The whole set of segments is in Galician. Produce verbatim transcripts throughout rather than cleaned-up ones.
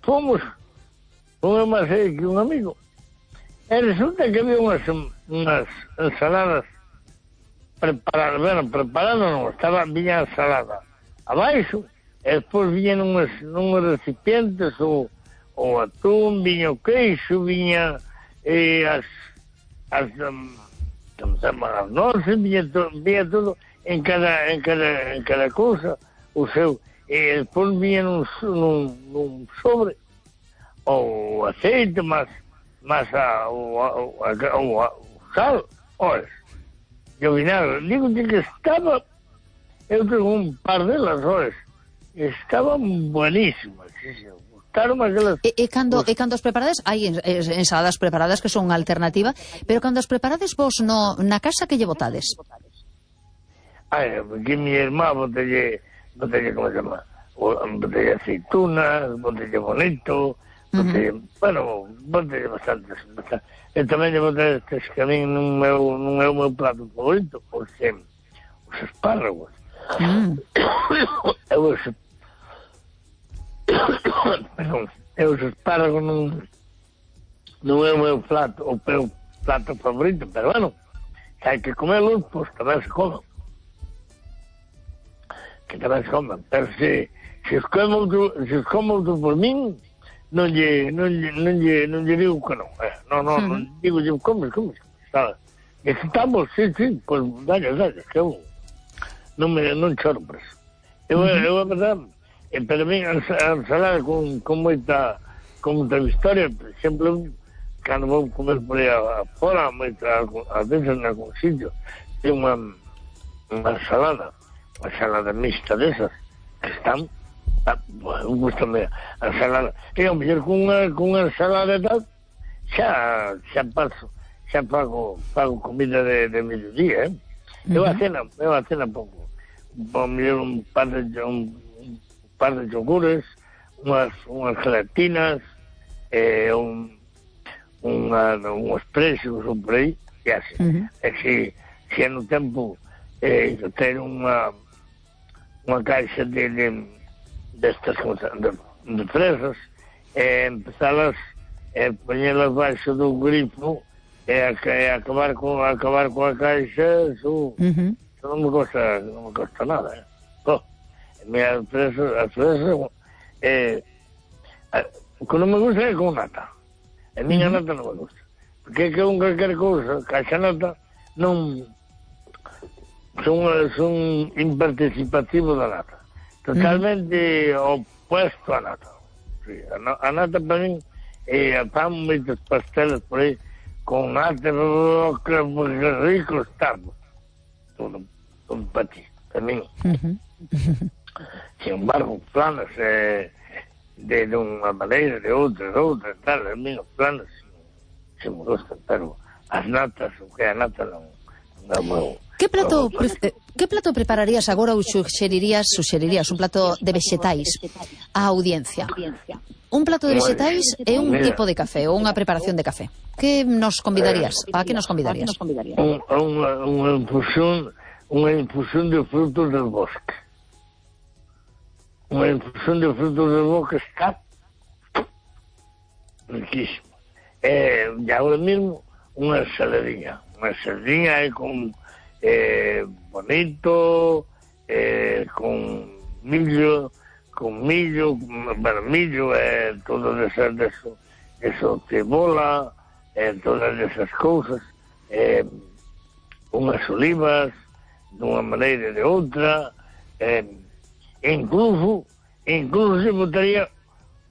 fomos con unha serie que un amigo, e resulta que había unhas, unhas ensaladas preparadas, bueno, preparadas non, estaba, viña a ensalada abaixo, e despois viñan unhas, unhas recipientes, o, o atún, viña o queixo, viña eh, as, as, um, como se chama, as noces, viña, to, viña todo en cada, en cada, en cada cousa, o seu, e despois viña nun, nun, nun sobre, o aceite, mas, mas a, o, o, o, o sal, olha, e o vinagre, digo que estaba, eu tengo un par delas, olha, estaban buenísimas, sí, sí. Gustaron aquelas... E, e, cando, e cando as preparades, hai ensaladas preparadas que son unha alternativa, pero cando as preparades vos no, na casa que lle botades? Ai, que mi irmá botelle, botelle, como se chama, botelle aceitunas, botelle bonito, botelle, uh -huh. bueno, botelle bastantes, bastante. E tamén lle botelle estes que a mí non é o meu plato favorito, os, os espárragos. Mm. Eu os perdón, eu os espárragos non non é o meu plato, o meu plato favorito, pero bueno, se hai que comerlos, pois tamén se comen, que tamén se comen, pero se se os como se os como por min, non lle non lle non lle non lle digo que non, eh, non non non digo lle comes, comes, sabes? E se estamos, sí, sí, pois dalle, dalle, que eu non me non choro por eso. Eu, uh -huh. eu a verdade, eh, pero a mí a ensalada con, con moita con moita historia, por exemplo, cando vou comer por aí fora, moita, a veces en algún sitio, ten unha, unha ensalada, unha ensalada mixta desas, que están, ah, bueno, gustame a ensalada. E ao mellor con unha, con unha ensalada e tal, xa, xa paso, xa pago, pago comida de, de mediodía, eh? Eu a cena, eu a cena pouco. Por mellor un par de un, un par de yogures, unhas unhas gelatinas, eh, un unha unhos prexos ou por aí, e así. Uh -huh. E se se no tempo eh, ter unha unha caixa de, de destas de, de fresas, e eh, empezalas e eh, poñelas baixo do grifo e, a, e acabar con acabar con a caixa, eso, uh -huh. eso non me costa non me costa nada, eh. Oh, as fresas, as fresas eh, o que non me gusta é con nata. A miña uh -huh. nata non me gusta, porque é que un calquer cousa, caixa nata non son, son imparticipativo da nata, totalmente uh -huh. opuesto a nata. Sí, a, a nata para mí e eh, fan moitos pasteles por aí con nata, que rico está todo, todo para ti, para mí. Uh -huh. Sin embargo, planos eh, de, de unha maneira, de outra, de outra, tal, a mí os planos se me gustan, pero as natas, o que a nata non, non me... Que plato, pre que plato prepararías agora ou suxerirías, suxerirías un plato de vexetais á audiencia? Un plato de vexetais e un tipo de café ou unha preparación de café. Que nos convidarías? A que nos convidarías? Un, unha, unha infusión, unha infusión de frutos del bosque. Unha infusión de frutos del bosque está riquísimo. E, e agora mesmo, unha saladinha. Unha saladinha é con eh, bonito, eh, con millo, con millo, bueno, millo, eh, todo eso, eso, eso, cebola, eh, todas esas cousas, eh, unhas olivas, dunha maneira de outra, eh, incluso, incluso se botaría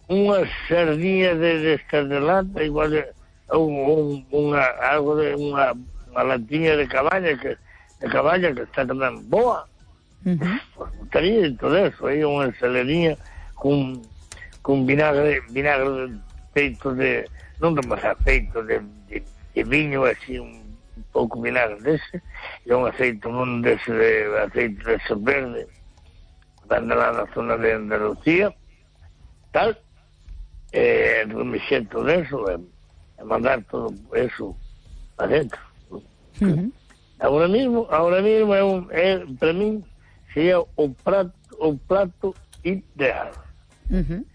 unhas sardinhas de, de estas de lata, igual un, un, unha, algo de unha, unha latinha de caballa que de caballa que está tamén boa. Uh -huh. Pues botaría todo eso, aí unha ensaladinha con, con vinagre, vinagre feito de, non de masa, feito de, de, de viño, así, un, un pouco vinagre dese, e un aceite, un dese de aceite dese verde, dando lá na zona de Andalucía, tal, e remexer todo eso, e, e mandar todo eso adentro. Uh -huh. Ahora mismo, ahora mismo é un, é, para mí sería o prato, o prato ideal. Uh -huh.